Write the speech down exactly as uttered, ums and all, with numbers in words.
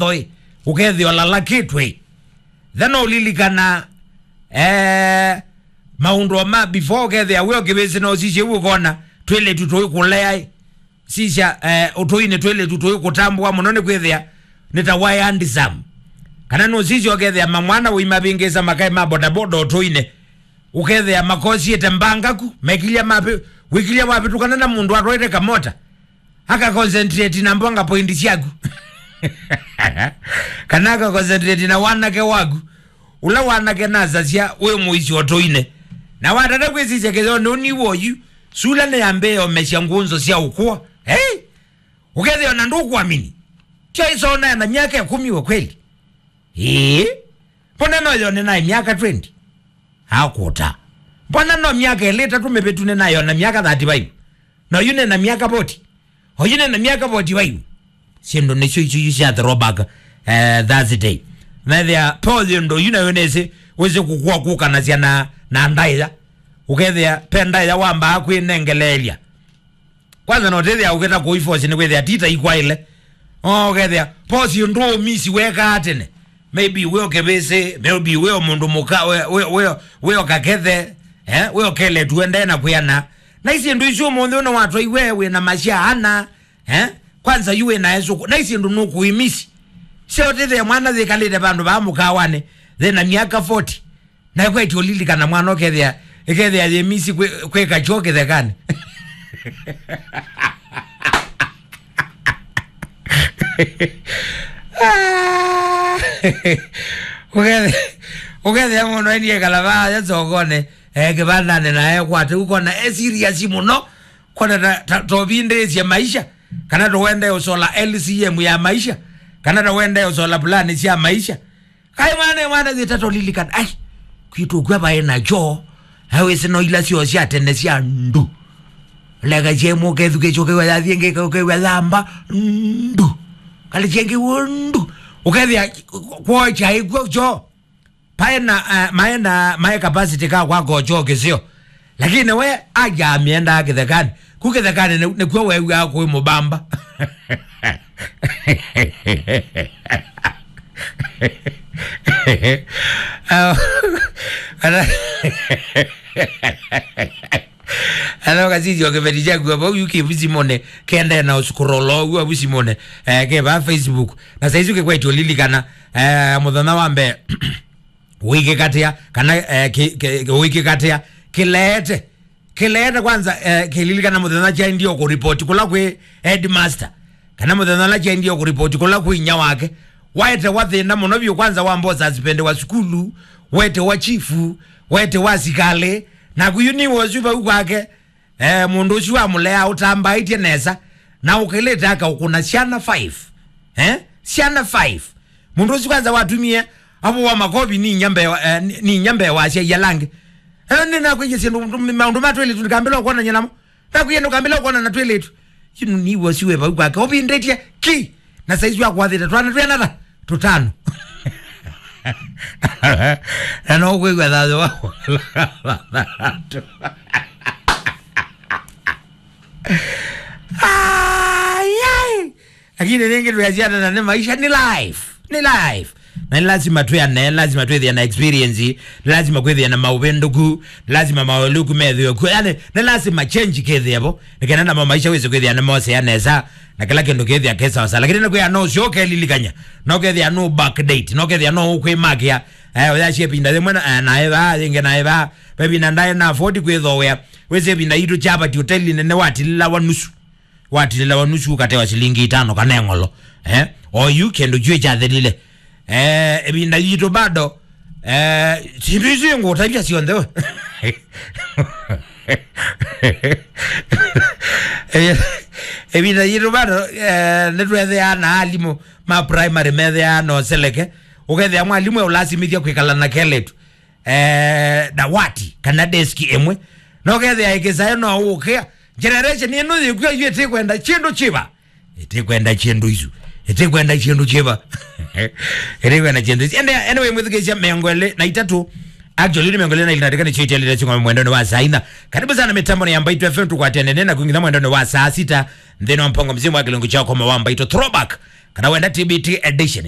thoĩ, ũkethĩa ũlalakĩtwe. Then ũlilikana, eh, maũndũ ma before, ũkethĩa wĩ o kĩvĩsĩ na ũsisye ũu ũkona twĩlĩtu tũikũlea ĩ. Sisya, eh, ũtũinĩ twĩlĩtu tũikũtambũa mũno nĩ kwĩthĩa nĩ ta waĩ handsome. Kana nũsisya ũkethĩa mamwana ũimavĩngĩsa makaĩ ma bodaboda ũtũinĩ. Ũkethĩa makosiĩte mbangaku, mekilya mavĩ-, wĩkilya wavĩtũkana na mũndũ atwaĩte kamota. Aka concentrate na mbonga point syaku. Kana aka concentrate na wanake waku. Ũla wanake nasasya wĩ mũisyo ũtũinĩ. Na watata kwĩsisya kĩtheo nũniw'o yu, sula nĩyambĩĩa ũmesya ngũnzo sya ũkũa. Hey! Ũkethĩa ona ndũkwamini. Tyo isona na myaka ĩkũmi we kweli. Ĩĩ. Mbona no yone naĩ myaka twenty? Akũta. Mbona no myaka ĩlĩ ĩtatũ mĩvĩtu nĩnayona myaka thirty-five? Na yu nĩna myaka forty. Oyu nĩna myaka forty-five. Syĩndũ nĩsyo isu yu sya throwback, eh, Thursday. Methĩa po yĩndũ yu nayo nĩsĩ wĩsĩ kũkua kũkanasya na, na ndaĩa. Ũkethĩa pe ndaĩa wambaa kwĩnengeleelya. Kwanza no tethĩa ũkĩta kũi force nĩ kwĩthĩa tita ikwaĩle. O, ũkethĩa force ndũ misi wekaa tene. Maybe wĩ o kĩvĩsĩ, maybe wĩ o mũndũ mũka, wĩ, wĩ, wĩ, wĩ o kakethe, eh, wĩ o keletu endee na kwĩana. Na isi ndũ isu ũmũnthĩ ũno watwaiwe wĩ na masya ana, eh? Kwanza yu wĩ na esũkũ. Na isi ndũ nũkũimisi. Sio tethĩa mwana thĩkalĩte vandũ vaa mũkawanĩ, thĩna myaka forty. Na kweti ũlilikana mwana ũkethĩa, ĩkethĩa yĩmisi kwĩ, kwĩka kyo kĩthekanĩ. Ah! Ũkethĩa, ũkethĩa mũndũ ainie kalava ya sokonĩ, eh, kĩvandanĩ na ekwate, ũkona e serious mũno, kona ta, ta, tovindĩĩsye maisha, kana towende ũsola L C M ya maisha, kana towende ũsola pulani sya maisha. Kaĩ mwana, mwana, thĩ tatolilikana. Ai, kwitũ kw'a vaĩ na kyoo. Ai, wĩsĩ no ila syoo sya tene sya ndu. Leka syemũ ũkethukĩsya ũkew'a yathi ĩngĩ, ũkew'a yamba ndu. Kalĩ syengĩ w'o ndu. Ũkethĩa kwoo kyaĩ kw'o kyoo. Paĩ na, eh, maĩ na, maĩ capacity ka kwaka kyoo kĩseo. Lakini we aja amĩendaa kĩthekanĩ. Ku kĩthekanĩ nĩ, nĩkw'o weew'aa kwĩ mũbamba. Ana, ana ũkasisya kĩveti kyaku avo, yu kĩ vu simũnĩ, kĩendee na ũscroll ũu avu simũnĩ, eh, kĩ va Facebook. Na saizi kĩkwetye ũlilikana, eh, mũthenya wa mbee. Ũikĩkatia, kana, eh, ki-, ki-, ũikĩkatia, kĩleete. Kĩleete kwanza, eh, kĩlilikana mũthenya kyaendie kũripoti kũla kwĩ headmaster. Kana mũthenya ũla kyaendie kũripoti kũla kwĩ inya wake. Waetewa thĩna mũno vyũ kwanza wamba ũsuspendiwa sukulu, wetewa chifu, wetewa asikalĩ. Naku yu nĩ wosu vau kwake. Eh, mũndũ ũsu wamũlea ũtambaĩtye nesa, na ũkĩlĩte akaũkũna syana five. Eh? Syana five. Mũndũ ũsu kwanza watumie avo wa makovi ni inya mbee wa, eh, ni, ni inya mbee wa asyai ala angĩ. Eh, nĩnakwĩie syĩndũ, maũndũ ma twĩlĩtu ndikambĩla ũkwonany'a namo. Nakwĩie ndũkambĩla ũkwona na twĩlĩtu. Yu nĩ wosu wĩ vau kwake. Ũvindĩtye ki. Na saizi wakwathĩte twana twĩana ta tũtano. Na no ũkwĩw'a thayũ wa Ai, ai. Lakini rĩngĩ twĩasyana na nĩ maisha, nĩ life. Nĩ life. Na nĩ lazima twĩane, lazima twĩthĩe na experience, nĩ lazima kwĩthĩa na maũvĩndũku, nĩ lazima maũlũku methĩwe kuo. Yani, nĩ lazima change kĩthĩe vo. Nĩ kenda namo maisha wĩsĩ kwĩthĩa nĩ mosea nesa, na kĩla kĩndũ kĩthĩa kĩ sawa sawa. Lakini nĩ kwĩa no ũsyoke lilikanya, no kethĩa no backdate, no kethĩa no ũkwĩmakĩa, eh, ũyasye ĩvinda yĩmwe na, eh, naĩ vaa, yĩngĩ naĩ vaa, ve ĩvinda ndaĩ na afford kwĩthowea. Wĩsĩ ĩvinda yitũ Chapati hoteli nene watilĩlawa nusu. Watilĩlawa nusu ũkatewa silingi itano kana eng'olo. Eh? Oyu kĩndũ kyuĩ kyathelile. Eh, ĩvinda yitũ bado, eh, sindu isu ngũtavya syonthe we. Eh, ĩvinda yitũ bado, eh, nĩtwetheaa na alimũ ma primary metheaa na ũseleke. Ũkethĩa mwalimũ eũlasimĩthya kwĩkala na keletu eh, dawati kana deski ĩmwe. No kethĩa ĩkĩsae no ũkĩa. Generation ĩno yĩkw'a yu ĩtĩkwenda kyĩndũ kĩva. Ĩtĩkwenda kyĩndũ isu. Ĩtĩkwenda kyĩndũ kĩva. Ĩtĩkwenda kyĩndũ isu. Ende, anyway, mwĩthukĩĩsya mĩongo ĩlĩ na itatũ. Actually, nĩ mĩongo ĩlĩ na ilĩ na ndĩka nĩkyo itialĩte syũngama mwendonĩ wa saa ina. Karibu sana mĩtambonĩ ya Mbaitũ F M, tũkwatene na kũingĩtha mwendonĩ wa saa sita. Nthĩnĩ wa mpango mzima wa kĩlungu kya ũkoma wa Mbaitũ Throwback. Kana wenda T B T edition.